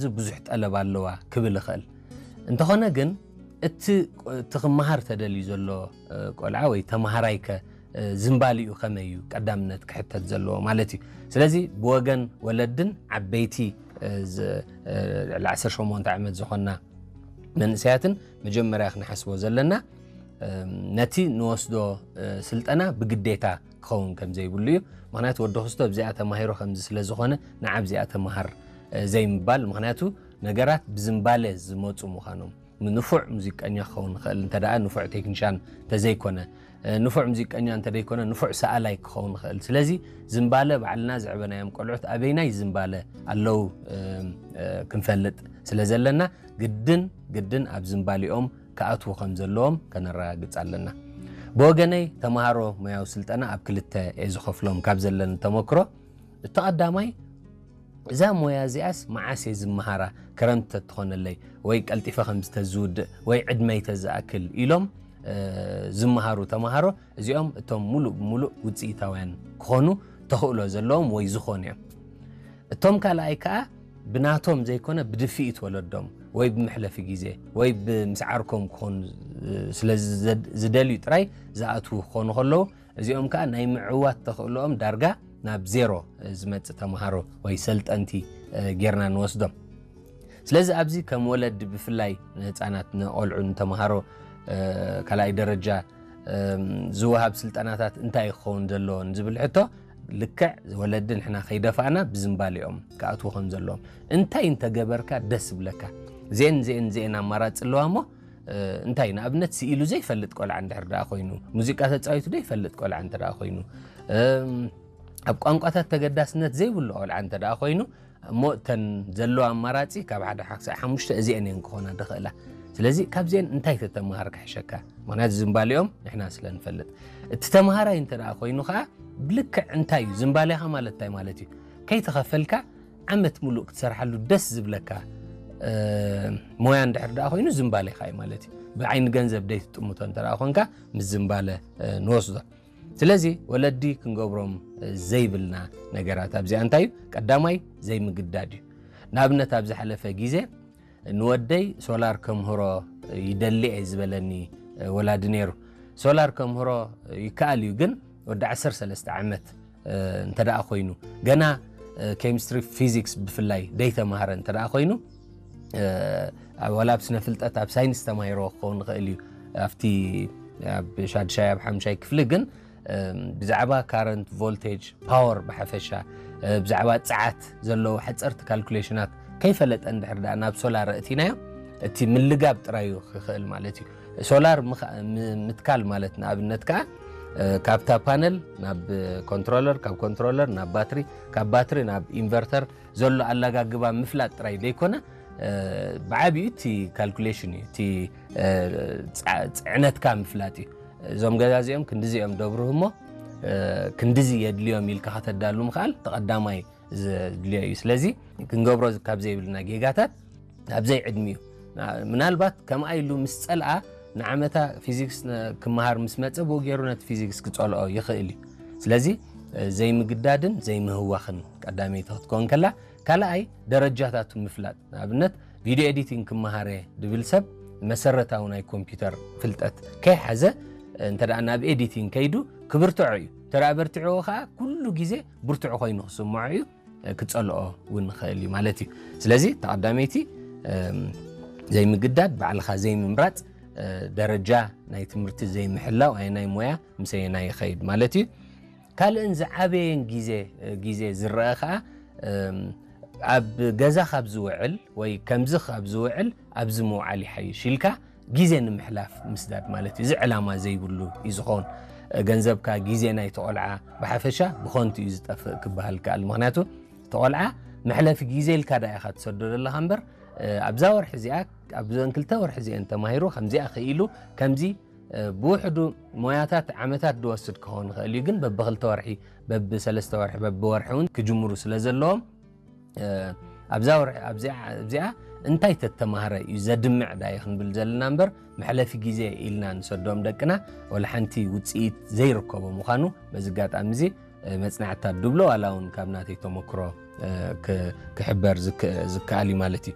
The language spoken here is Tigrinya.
እዚ ብዙሕ ጠለብ ኣለዋ ክብል ይኽእል። እንተኾነ ግን እቲ እቲ ክመሃር ተደልዩ ዘሎ ቆልዓ ወይ ተመሃራይከ ዝንባሊኡ ከመይ እዩ ቀዳምነት ክሕተት ዘለዎ ማለት እዩ። ስለዚ ብወገን ወለድን ዓበይቲ ልዕሊ ዓሰርተ ሸሞንተ ዓመት ዝኾና መንእሰያትን መጀመርያ ክንሓስቦ ዘለና ነቲ ንወስዶ ስልጠና ብግዴታ ክኸውን ከም ዘይብሉ እዩ። ምክንያቱ ወዲ ክስቶ ኣብዚኣ ተማሂሮ ከምዚ ስለ ዝኾነ ንዓ ኣብዚኣ ተማሃር ዘይምባል፣ ምክንያቱ ነገራት ብዝንባለ ዝመፁ ምዃኖም። ንፉዕ ሙዚቀኛ ክኸውን ይኽእል እንተ ደኣ ንፉዕ ቴክኒሻን እንተዘይኮነ፣ ንፉዕ ሙዚቀኛ እንተ ደይኮነ ንፉዕ ሰኣላይ ክኸውን ይኽእል። ስለዚ ዝንባለ ባዕልና ዘዕበናዮም ቆልዑት ኣበይናይ ዝንባለ ኣለዉ ክንፈልጥ ስለ ዘለና ግድን ግድን ኣብ ዝንባሊኦም ክኣትዉ ከም ዘለዎም ከነረጋግጽ ኣለና። ብወገነይ ተምሃሮ ሞያዊ ስልጠና ኣብ ክልተ እየ ዝኸፍሎም ካብ ዘለኒ ተመክሮ። እቲ ቀዳማይ እዛ ሞያ እዚኣስ መዓስ እየ ዝመሃራ፣ ክረምቲ ተትኾነለይ ወይ ቀልጢፈ ከም ዝተዝውድእ ወይ ዕድመይ ተዝኣክል ኢሎም ዝመሃሩ ተምሃሮ እዚኦም እቶም ሙሉእ ብሙሉእ ውፅኢታውያን ክኾኑ ተኽእሎ ዘለዎም ወይ ዝኾኑ እዮም። እቶም ካልኣይ ከዓ ብናቶም ዘይኮነ ብድፍኢት ወለዶም ወይ ብመሕለፊ ግዜ ወይ ብምስዓርኮም ክኾኑ ስለ ዝደልዩ ጥራይ ዝኣትዉ ክኾኑ ከለዉ እዚኦም ከዓ ናይ ምዕዋት ተኽእሎኦም ዳርጋ ናብ ዜሮ ዝመፅእ ተምሃሮ ወይ ሰልጠንቲ ጌርና ንወስዶም። ስለዚ ኣብዚ ከም ወለዲ ብፍላይ ንህፃናት ንቆልዑ ንተምሃሮ ካልኣይ ደረጃ ዝወሃብ ስልጠናታት እንታይ ክኸውን ዘለዎን ዝብል ሕቶ ልክዕ ወለዲ ንሕና ከይደፋእና ብዝንባሌኦም ክኣትዉ ከም ዘለዎም እንታይ እንተገበርካ ደስ ዝብለካ ዜን ዜን ዜን ኣማራፂ ኣለዋ እሞ እንታይ ንኣብነት ስኢሉ ዘይፈልጥ ቆልዓ እንድሕር ደኣ ኮይኑ ሙዚቃ ተፃዊቱ ዘይፈልጥ ቆልዓ እንተ ደኣ ኮይኑ ኣብ ቋንቋታት ተገዳስነት ዘይብሉ ቆልዓ እንተ ደኣ ኮይኑ እሞ እተን ዘለዋ ኣማራፂ ካብ ሓደ ሓክሳዕ ሓሙሽተ እዚአን እየን ክኾና ዝኽእላ። ስለዚ ካብዚአን እንታይ ተተምሃር ክሕሸካ? ምክንያቱ ዝንባሊኦም ንሕና ስለ ንፈልጥ። እቲ ተምሃራይ እንተ ደኣ ኮይኑ ከዓ ብልክዕ እንታይ እዩ ዝንባሌኻ ማለት እንታይ ማለት እዩ? ከይተኸፈልካ ዓመት ሙሉእ ክትሰርሓሉ ደስ ዝብለካ ሞያ እንድሕር ደኣ ኮይኑ ዝንባሌኻ እዩ ማለት እዩ። ብዓይኒ ገንዘብ ደይትጥምቶ እንተ ደኣ ኮንካ ምስ ዝንባለ ንወስዶ። ስለዚ ወለዲ ክንገብሮም ዘይብልና ነገራት ኣብዚኣ እንታይ እዩ? ቀዳማይ ዘይምግዳድ እዩ። ንኣብነት ኣብ ዝሓለፈ ግዜ ንወደይ ሶላር ከምህሮ ይደሊ እየ ዝበለኒ ወላዲ ነይሩ። ሶላር ከምህሮ ይከኣል እዩ ግን ወዲ ዓሰርተ ሰለስተ ዓመት እንተ ደኣ ኮይኑ ገና ኬሚስትሪ ፊዚክስ ብፍላይ ደይተማሃረ እንተ ደኣ ኮይኑ ወላ ኣብ ስነ ፍልጠት ኣብ ሳይንስ ተማሂሮ ክኸውን ይኽእል እዩ ኣብቲ ኣብ ሻድሻይ ኣብ ሓምሻይ ክፍሊ ግን ብዛዕባ ካረንት ቮልቴጅ ፓወር ብሓፈሻ ብዛዕባ ፀዓት ዘለዉ ሓፀርቲ ካልኩሌሽናት ከይፈለጠ እንድሕር ደኣ ናብ ሶላር እቲናዮ እቲ ምልጋብ ጥራዩ ክኽእል ማለት እዩ ሶላር ምትካል ማለት ንኣብነት ከዓ ካብታ ፓነል ናብ ኮንትሮለር ካብ ኮንትሮለር ናብ ባትሪ ካብ ባትሪ ናብ ኢንቨርተር ዘሎ ኣላጋግባ ምፍላጥ ጥራይ ዘይኮነ ብዓብዩ እቲ ካልኩሌሽን እዩ እቲ ፅዕነትካ ምፍላጥ እዩ እዞም ገዛ እዚኦም ክንድዚኦም ደብርህ እሞ ክንድዚ የድልዮም ኢልካ ከተዳሉ ምኽኣል ተቐዳማይ ዘድልዮ እዩ ስለዚ ክንገብሮ ካብ ዘይብልና ጌጋታት ኣብ ዘይዕድሚኡ ምናልባት ከምኣ ኢሉ ምስ ፀልኣ ንዓመታ ፊዚክስ ክመሃር ምስ መፀ ብኡ ገይሩ ነቲ ፊዚክስ ክፀልኦ ይኽእል እዩ ስለዚ ዘይምግዳድን ዘይምህዋኽን ቀዳመይቲ ክትከውን ከላ ካልኣይ ደረጃታቱ ምፍላጥ ንኣብነት ቪድዮ ኤዲቲንግ ክመሃረ ድብል ሰብ መሰረታዊ ናይ ኮምፒውተር ፍልጠት ከይሓዘ እንተ ናብ ኤዲቲንግ ከይዱ ክብርትዖ እዩ ተራ በርትዕዎ ከዓ ኩሉ ግዜ ብርቱዕ ኮይኑ ክስምዖ እዩ ክፀልኦ እውን ይኽእል እዩ ማለት እዩ ስለዚ ተቐዳመይቲ ዘይምግዳድ ባዕልኻ ዘይምምራፅ ደረጃ ናይ ትምህርቲ ዘይምሕላው ኣየናይ ሞያ ምሰየናይ ይኸይድ ማለት እዩ ካልእን ዝዓበየን ግዜ ግዜ ዝረአ ከዓ ኣብ ገዛ ካብ ዝውዕል ወይ ከምዚ ካብ ዝውዕል ኣብዚ ምውዓል ይሓይሽ ኢልካ ግዜ ንምሕላፍ ምስዳድ ማለት እዩ። እዚ ዕላማ ዘይብሉ እዩ ዝኸውን። ገንዘብካ፣ ግዜ ናይቲ ቆልዓ ብሓፈሻ ብኸንቱ እዩ ዝጠፍእ ክበሃል ይከኣል። ምኽንያቱ እቲ ቆልዓ መሕለፊ ግዜ ኢልካ ደኣ ኢኻ ትሰዶ ዘለኻ እምበር ኣብዛ ወርሒ እዚኣ ኣብዘን ክልተ ወርሒ እዚአን ተማሂሩ ከምዚኣ ክኢሉ ከምዚ ብውሕዱ ሞያታት ዓመታት ዝወስድ ክኸውን ይኽእል እዩ፣ ግን በብክልተ ወርሒ በብሰለስተ ወርሒ በብወርሒ እውን ክጅምሩ ስለ ዘለዎም ኣብዛ ወርሒ ኣብዚኣ እንታይ ተተማህረ እዩ ዘድምዕ ዳየ ክንብል ዘለና እምበር መሕለፊ ግዜ ኢልና ንሰዶም ደቅና ወላ ሓንቲ ውፅኢት ዘይርከቦ ምዃኑ በዚ ኣጋጣሚ እዚ መፅናዕትታት ድብሎ ዋላ እውን ካብ ናተይ ተመክሮ ክሕበር ዝከኣል እዩ ማለት እዩ።